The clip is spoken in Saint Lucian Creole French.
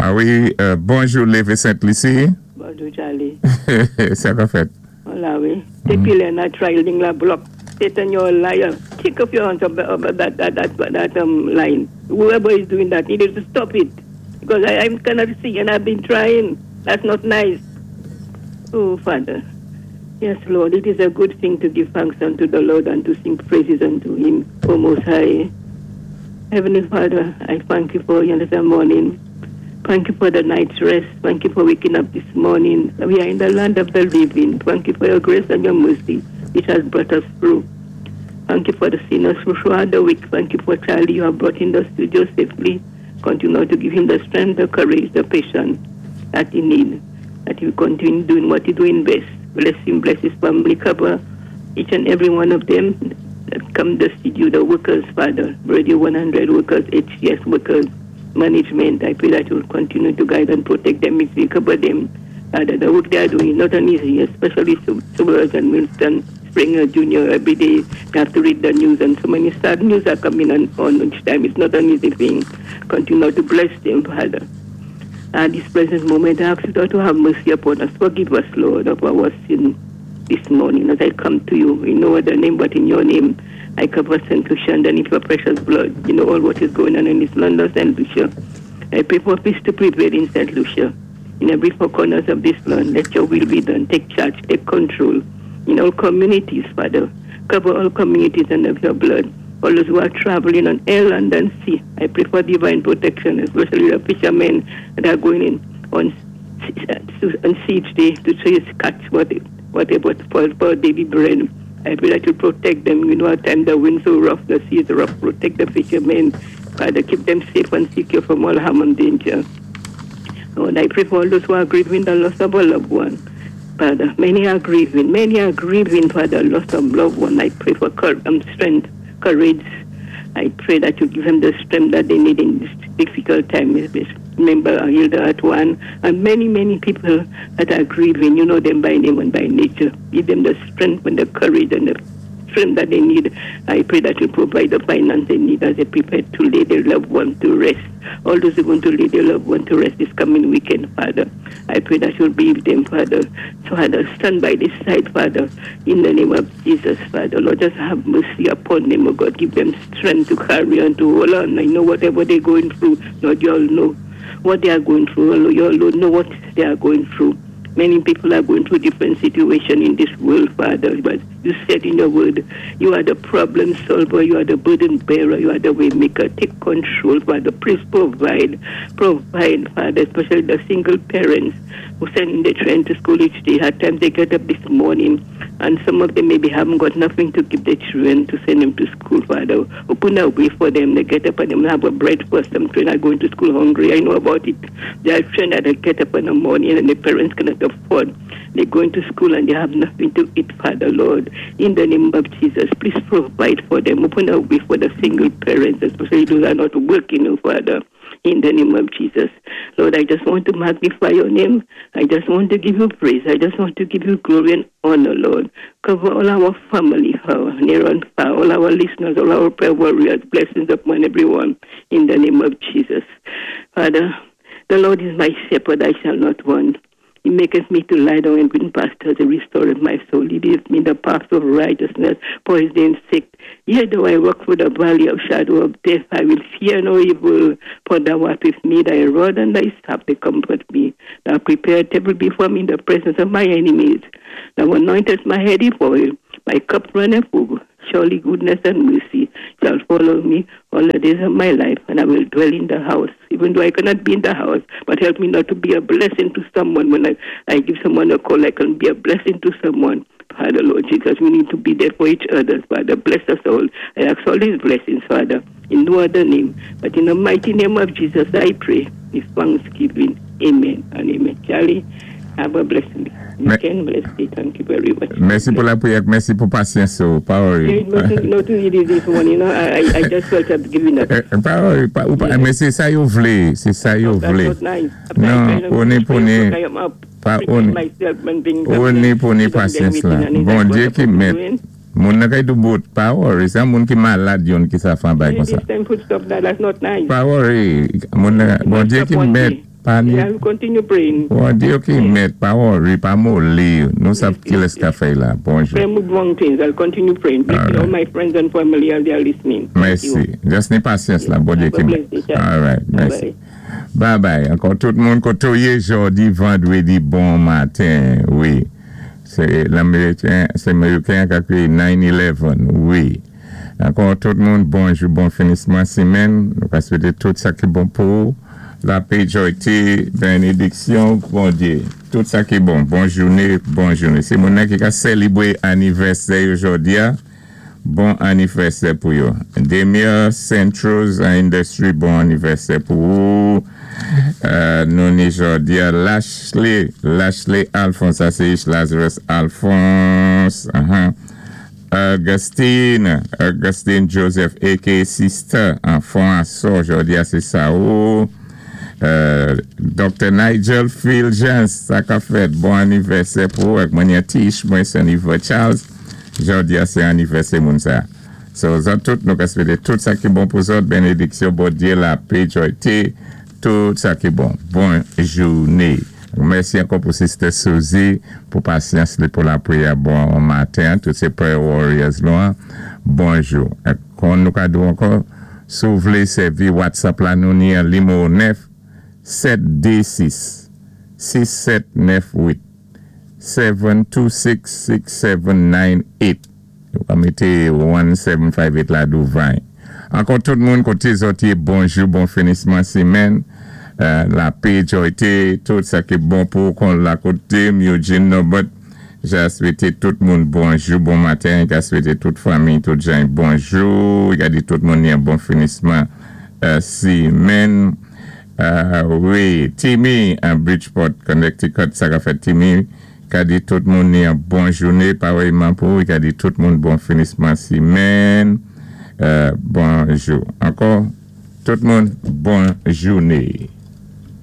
A wi, bonjou Lévé Sent Lisi. Bonjou, Charlie. Sa k ap fèt? Hola, wi. Dépi lè n ap try line la block. Satan, you're a liar. Take off your hands of that line. Whoever is doing that needed to stop it. Because I cannot see and I've been trying. That's not nice. Oh, Father. Yes, Lord, it is a good thing to give thanks unto the Lord and to sing praises unto him, O Most High. Heavenly Father, I thank you for another morning. Thank you for the night's rest. Thank you for waking up this morning. We are in the land of the living. Thank you for your grace and your mercy, which has brought us through. Thank you for the sinners throughout the week. Thank you for Charlie you have brought in the studio safely. Continue to give him the strength, the courage, the patience that he needs, that he will continue doing what he's doing best. Bless him, bless his family, cover each and every one of them that come to the studio, the workers, Father, Radio 100 workers, HCS workers, management. I pray that you will continue to guide and protect them, if you cover them. Father, the work they are doing is not an easy, especially Subaraj and Winston Springer Jr. Every day they have to read the news, and so many sad news are coming on each time. It's not an easy thing. Continue to bless them, Father. At this present moment, I ask you to have mercy upon us. Forgive us, Lord, of our sin this morning as I come to you in no other name but in your name. I cover St. Lucia underneath your precious blood. You know all what is going on in this land of St. Lucia. I pray for peace to prevail in St. Lucia. In every four corners of this land, let your will be done. Take charge, take control. In all communities, Father. Cover all communities under your blood. All those who are traveling on air, land, and sea, I pray for divine protection, especially the fishermen that are going in on siege day to chase, catch whatever for daily bread. I pray that you protect them. You know, at times the wind's so rough, the sea is rough. Protect the fishermen. Father, keep them safe and secure from all harm and danger. Lord, I pray for all those who are grieving the loss of a loved one. Father, many are grieving. Many are grieving for the loss of loved one. I pray for strength, courage. I pray that you give them the strength that they need in this difficult time. Remember Hilda at one and many, many people that are grieving. You know them by name and by nature. Give them the strength and the courage and the strength that they need. I pray that you provide the finance they need as they prepare to lay their loved one to rest. All those who want to lay their loved one to rest this coming weekend, Father, I pray that you'll be with them, Father. Father, stand by this side, Father, in the name of Jesus, Father. Lord, just have mercy upon them, oh God. Give them strength to carry on, to hold on. I know whatever they're going through, Lord, you all know what they are going through. You all know what they are going through. Many people are going through different situations in this world, Father, but you said in your word, you are the problem solver, you are the burden bearer, you are the way maker. Take control, Father. Please provide, provide, Father, especially the single parents who send their children to school each day. At times they get up this morning, and some of them maybe haven't got nothing to give their children to send them to school, Father. Open a way for them. They get up and they have a breakfast. Some children are going to school hungry. I know about it. There are children that get up in the morning and their parents cannot afford. They're going to school and they have nothing to eat, Father, Lord. In the name of Jesus, please provide for them. Open a way for the single parents, especially those who are not working, oh, Father. In the name of Jesus. Lord, I just want to magnify your name. I just want to give you praise. I just want to give you glory and honor, Lord. Cover all our family, our near and far, all our listeners, all our prayer warriors. Blessings upon everyone in the name of Jesus. Father, the Lord is my shepherd, I shall not want. He maketh me to lie down in green pastures. He restoreth my soul. He leadeth me in the path of righteousness for his name's sake. Yea, though I walk through the valley of shadow of death, I will fear no evil, for thou art with me, thy rod and thy staff, they comfort me. Thou prepare a table before me in the presence of my enemies. Thou anointest my head with oil, my cup runneth over. Surely goodness and mercy shall follow me all the days of my life, and I will dwell in the house, even though I cannot be in the house. But help me not to be a blessing to someone. When I give someone a call, I can be a blessing to someone. Father, Lord Jesus, we need to be there for each other. Father, bless us all. I ask all these blessings, Father, in no other name, but in the mighty name of Jesus, I pray with thanksgiving. Amen and amen. Charlie, have a blessing. Weekend, bless you. Thank you very much. Mèsi pou lapriyè, mèsi pou pasyans. Pa worry. Not too easy this one. I just felt like giving up. Pa worry, pa, ou pa, men sé sa yo vlé, sé sa yo vlé. Non, oni pou ni, pa oni, oni pou ni pasyans la. Bondyé ki mèt. Moun nan kay doubout, pa worry, sa moun ki malad yon ki sa fan bay kon sa. Pa worry, moun nan, Bondyé ki mèt. Pa ni I will continue praying. Bondyé ki mèt, pa worry, pa moli. Nou sav ki lès ka fèy la. Bonjou. Pray with wrong things. I'll continue praying. Blessing all my friends and family as they are listening. Thank you. Mèsi. Just ni pasyans la, Bondyé Have a ki blessed day, sir. All right, mèsi. Bye. Bye bye. Ankò tout moun koté ou yé jòdi vandwédi bon maten. Wi. Sé Laméwikén, sé Méwikén ka kwiyé 9-11. Wi. Ankò tout moun bonjou, bon finisman simenn. Nou ka swété tout sa ki bon pou ou. Lapé, jòyté, bénédiksyon Bondyé. Tout sa ki bon. Bon jouné, bon jouné. Si moun nan ki ka sélibwé anivèsè yo jòdi-a, bon anivèsè pou yo. Demir Centros Industry, bon anivèsè pou ou. Nou ni jòdi-a Lashley, Lashley Alphonse, sa sé Lazarus Alphonse. Augustine, Augustine Joseph aka Sister, anfon asò, jòdi-a sé sa ou. Dr. Nigel Fulgence, sa ka fèt, bon anivèsè pou ou ak mwen Tish, mwen Seniva Charles, jòdi-a sé anivèsè moun sa. So, zòt tout nou ka swété tout sa ki bon pou zòt, bénédiksyon Bondyé, lapé, jòyté, tout sa ki bon. Bon jouné. Mèsi ankò pou Sister Suzy pou pasyans li pou lapriyè bon maten. Tout sé prayer warriors nou an. Bonjou. Kon nou ka di ankò, si ou vlé sèvi WhatsApp la nou ni an nimewo 9 7 2 6 6 7 9 8 7 2 6 6 7 9 8. Ou ka mété 1758 la douvan. Ankò tout moun koté zòt yé bonjou, bon finisman simenn. Lapé, jòyté, tout sa ki bon pou kon la koté Eugene Norbert. Ja swété tout moun bonjou, bon maten. Ka swété tout fanmi, tout jan bonjou. Ka di tout moun yon bon finisman simenn. Wi, Timmy an Bridgeport, Connecticut, sa ka fèt Timmy. Ka di tout moun ni yon bon jouné, parèyman pou ka di tout moun bon finisman simenn. Bonjou. Ankò, tout moun bon jouné.